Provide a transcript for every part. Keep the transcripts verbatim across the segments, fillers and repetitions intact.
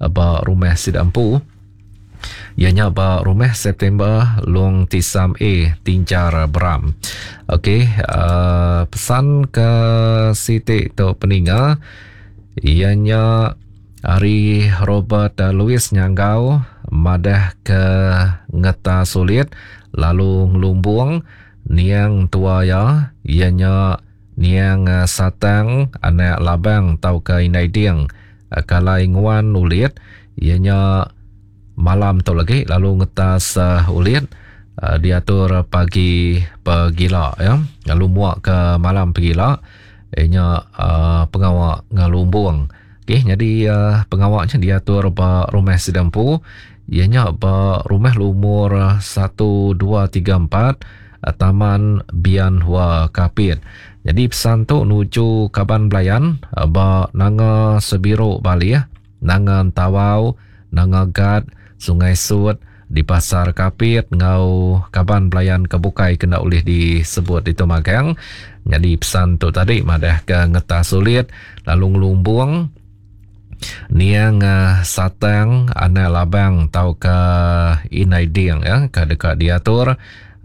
ba rumah sida empu iya nya ba rumah September Long Tisam A Tinjar Beram. Okey, uh, pesan ke siti tu peninga iya nya ari Robert Louis Nyanggau madah ke ngeta sulit lalu ngelumbung niang tua iya iya nya niang Satang anak Labang tauka Indai Ding kalai nguan ulit iya nya malam tu lagi lalu ngetas uh, ulit uh, diatur pagi pegila ya lalu muak ke malam pegila inya uh, pengawa ngelumbung. Okey, jadi uh, pengawaknya diatur ba rumah sida empu iya nya ba rumah lumur satu dua tiga empat Taman Bian Hua Kapit. Jadi pesan tu nuju kaban belayan ba Nanga Sebiru Balih, Nanga Tawau, Nanga Gad, Sungai Sut, di Pasar Kapit ngau kaban belayan ke bukai kena ulih disebut itu magang. Jadi pesan tu tadi madah ke ngetas sulit lalu ngelumbung niang uh, Satang anak Labang tauka Indai Ding ya ke deka diatur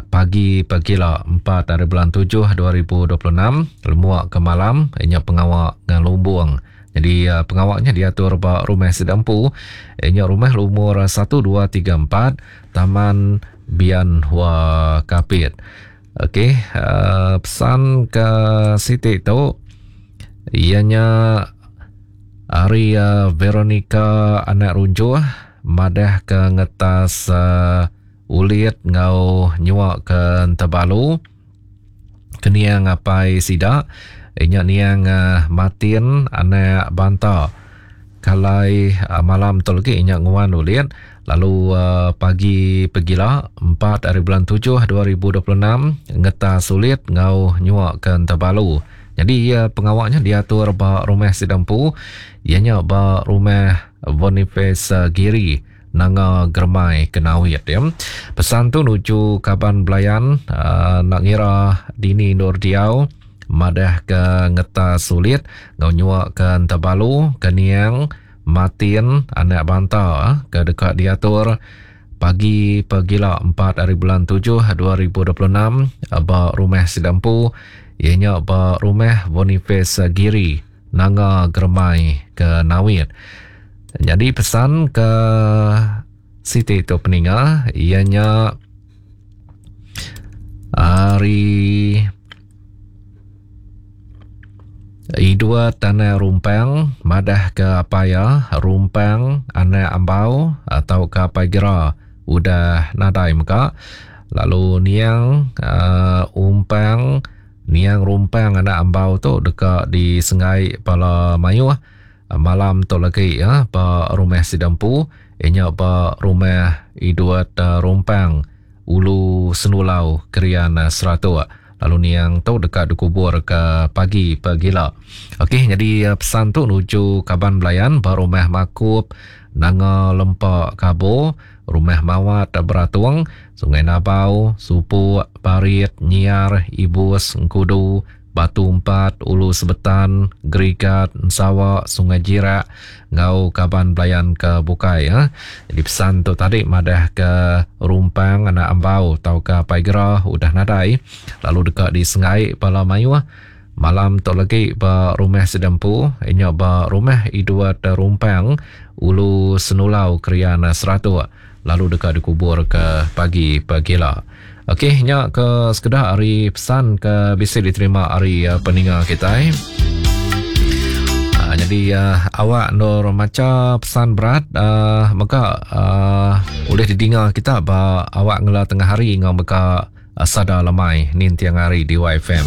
pagi pegila empat hari bulan tujuh dua ribu dua puluh enam lemuak ke malam inya pengawa ngelumbung. Jadi uh, pengawaknya diatur ba rumah sida empu inya rumah lumur satu dua tiga empat Taman Bian Hua Kapit. Okey, uh, pesan ke siti tu ianya ari uh, Veronica anak Runjuh madah ke ngetas uh, ulit ngau nyuak ke Tebalu keniang apai sida inya niang uh, Martin anak Banta kalai uh, malam tu lagi inya nguan ulit lalu uh, pagi pegila empat hari bulan tujuh dua ribu dua puluh enam ngetas ulit ngau nyuak ke Tebalu. Jadi uh, pengawaknya diatur ba rumah sida empu iya nya ba rumah Boniface uh, Giri Nanga Germai Kenawit ya. Pesan tu nuju kaban belayan uh, nak ngira dini Nur Diau madah ke ngetas sulit ngau nyuak ke Tebalu ke niang Martin anak Banta ke dekat diatur pagi pegila empat hari bulan tujuh dua ribu dua puluh enam ba rumah sida empu iya nya ba rumah Boniface Giri Nanga Germai ke Nawit. Jadi pesan ke siti tu peninga iya nya ari Idua Tanah Rumpang madah ke apaya Rumpang anak Ambau atau ke apai Gera udah nadai mega lalu niang uh, Umpang niang Rumpang anak Ambau tu deka disengai pala mayuh malam tu lagi ya ba rumah sida empu inya ba rumah Idua Rumpang Ulu Senulau Kerian Seratuk. Lalu niang tu dekat dikubur ke pagi pegila. Okey, jadi pesan tu nuju kaban belayan ba rumah Makup Nanga Lempa Kabo, rumah Mawat Beratung, Sungai Nabau, Supuk, Parit, Nyiar, Ibus, Engkudu, Batu Empat, Ulu Sebetan, Gerigat, Ensawak, Sungai Jirak, ngau kaban belayan ke bukai ya. Jadi pesan tu tadi madah ke Rumpang anak Ambau tau ke apai Gera udah nadai lalu dekat di Sengai pala mayuh malam tu lagi ba rumah sida empu inya ba rumah Idwat Rumpang Ulu Senulau Kerian Seratuk lalu dekat dikubur ke pagi pegila. Okey, nya ke sekedah hari pesan ke bisa diterima hari uh, peninga kita. Uh, jadi uh, awak nur maca pesan berat uh, maka uh, boleh didengar kita ba awak ngela tengah hari ngau mega uh, sada lemai nin tiang hari di Y F M.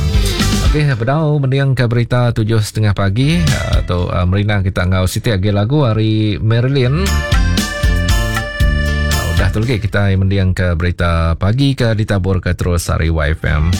Okey, bedau mending ke berita tujuh setengah pagi uh, tu uh, merinang kita ngau siti agi lagu hari Marilyn. Dah tu lagi kita mendiang ke berita pagi ke ditabur ke terus hari Y F M.